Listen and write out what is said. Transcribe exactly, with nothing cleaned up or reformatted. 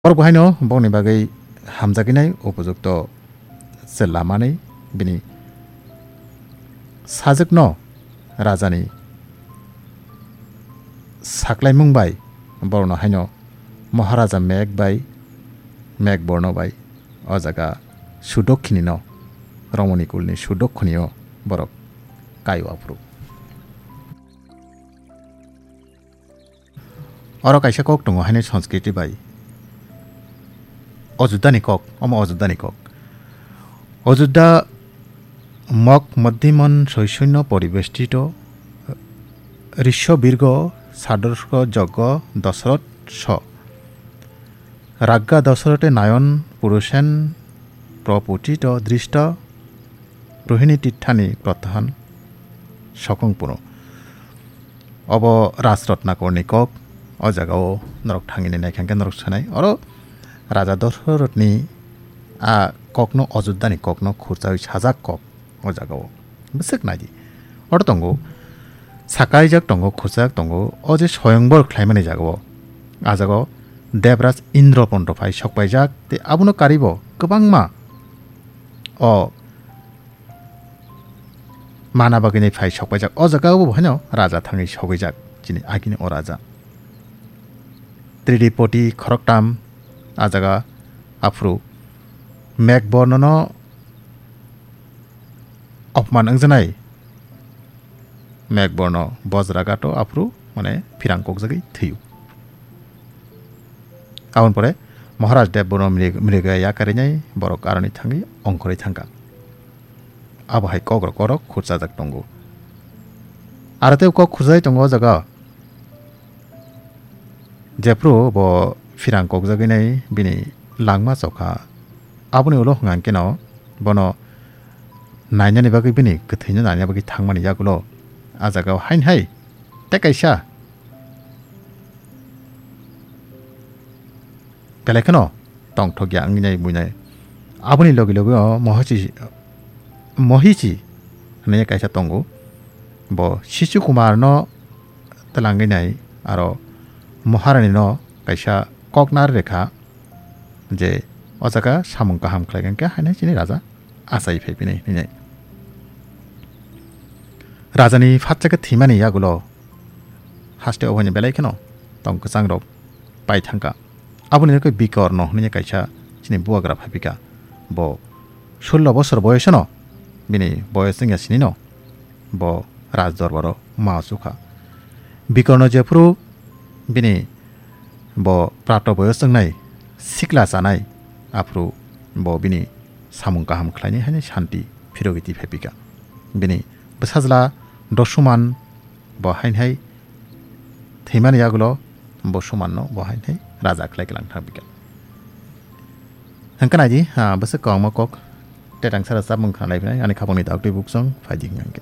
Borok bo haino bongni bagwi hamjaknai upojukto chwla manwi bini sajwkno rajani saklaimung bai borokno haino Maharaja Meg bai, Meg Borno bai o jaga Sudokkhini no, Romoni kulni Sudokkhini o borok kai o aphuru. Oro kaisa kok tongo haino Sanskriti bai. Ojuddani kok, omo Ojuddani kok. Ojudda mok moddiman soisoino poribestito risho birgo sadorsko joggo Dosrot so. Ragga Dosrote nayon purusen proputito dristo Rohini tithani protahan sokong puno. Obo Rajrotnakorni kok, o jagao norok thangwi naikha hwnkhe norok sanai. Oro Raja Dosorothni a kokno, Ojuddani kokno khurchawi sajak kok o jagao. Bwswk naidi. Oro tongo, sakaijak tongo, khurchajak tongo, o je soyongbor khlaimani jagao. A jagao Debraj Indro pondo phai sokpaijak, tei abono karibo kwbangma o mana bagwini phai sokpaijak. O jaga o bo haino raja thangwi sogwijak, chini agini o raja. Tridipoti khoroktam a jaga aphuru Meg Bornono opman wngjanai. Meg Borno bojra gato aphuru mane phirang kokjagwi thwiyo. Aboni pore Maharaj Dev Borno mrig-, mriga yakarinai borok aroni thangwi ongkhorwi thangkha. Abo hai kokrok korok khurchajak tongo. Aro tei kok khurchajak tongo o jaga. Jephru bo phirang kokjagwi nai bini langma chokha. Aboni ulo hwnkha hwnkhe no bono nainani bagwi bini kwthwino naina bagwi thangmani yagulo a jagao hain hai tei kaisa belai kheno tongthokya wngwi nai buinai. Aboni logi logi o Mohichi, Mohichi hwnwi kaisa tongo. Bo Sishu Kumar no twlangwi nai aro Maharani no kaisa koknar rekha je o jaga samung kaham khlai khe hainai chini raja achai phai bini hinwi. Rajani phatsa khe thwimani yagulo haste oboini belai kheno tong kwchang rok pai thangkha. Aboni bagwi Bikorno hwnwi kaisa chini bubagra phaipikha. Bo sullo bosor boyosno, bini boyos wngya sinino bo raj dorbaro ma chukha. Bikorno jephuru bini bo prato boyos wngnai sikla chanai, aphuru bo bini samung kaham khlainai haino shanti phirogwi twi phaipikha. Bini bwsajla Dosuman bo hain hai thwimani yagulo bo Sumanno bo hain hai raja khlai klang thang bikha. Hwnkhe naidi, ah, bwswk kwbangma kok tetang sara chapmung khna lai phinai ani khapangni daktwi buksong phaidi hwnkhe.